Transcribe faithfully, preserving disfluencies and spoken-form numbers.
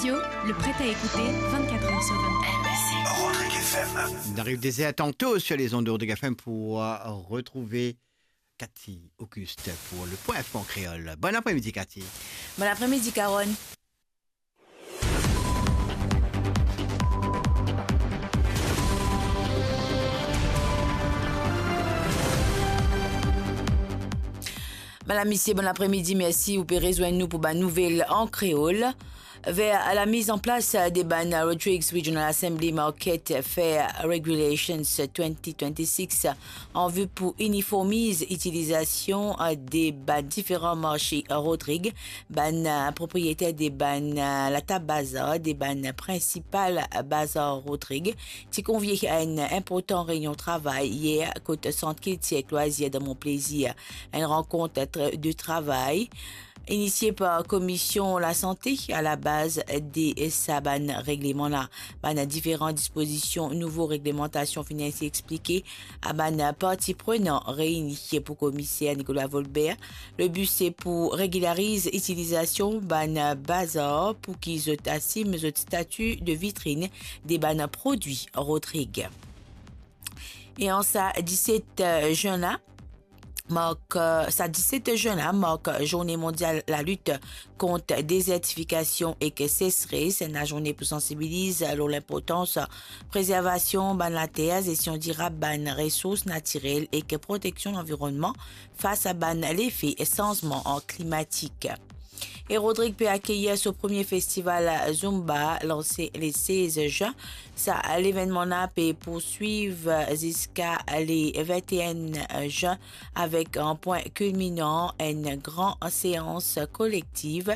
Le prêt à écouter vingt-quatre heures sur vingt-quatre. Rodrigue F M. On arrive dès heures tantôt sur les ondes de Rodrigue F M pour, euh, retrouver Cathy Auguste pour le Point Info en créole. Bon après-midi, Cathy. Bon après-midi, Carole. Madam, misie, bon apremidi, mersi ou pe rezwenn nou pou bann nouvel an kreol. Ver lamiz an plas de bann Rodrigues Regional Assembly Market Fair Regulations twenty twenty-six an vi pou iniformiz itilizasion de bann diferan marse Rodrig, bann propriyeter de bann latab bazar, de bann prinsipal bazar Rodrig, ti konvie a enn inportan reynion travay yer kot Sant Kiltir ek Lwazir dan Mont Plaisir. Enn rankont tra-, de travay inisie par Komisyon Lasante a la baz de sa bann regleman la. Bann diferan dispozision nouvo reglemantasion finn esi explike a bann parti prenan reini pou Komiser Nicolas Volbert. Le bi se pou regilariz itilizasion bann bazar pou ki zot asim zot stati de vitrinn de bann prodwi Rodrig. E an sa diset zin la, mark, sa diset zin la mark Zourne Mondial Lalit kont Dezertifikasion ek Sesres, enn lazourne pou sansibiliz lor linportans prezervasion bann later, zestion dirab bann resours natirel ek proteksion lanvironnman fas a bann lefe sanzman klimatik. E Rodrig pe akeyir so premie festival Zumba, lanse le sez zin. Sa levennman la pe pourswiv ziska le vinte et un zin avek an pwin kilminan, enn gran seans kolektiv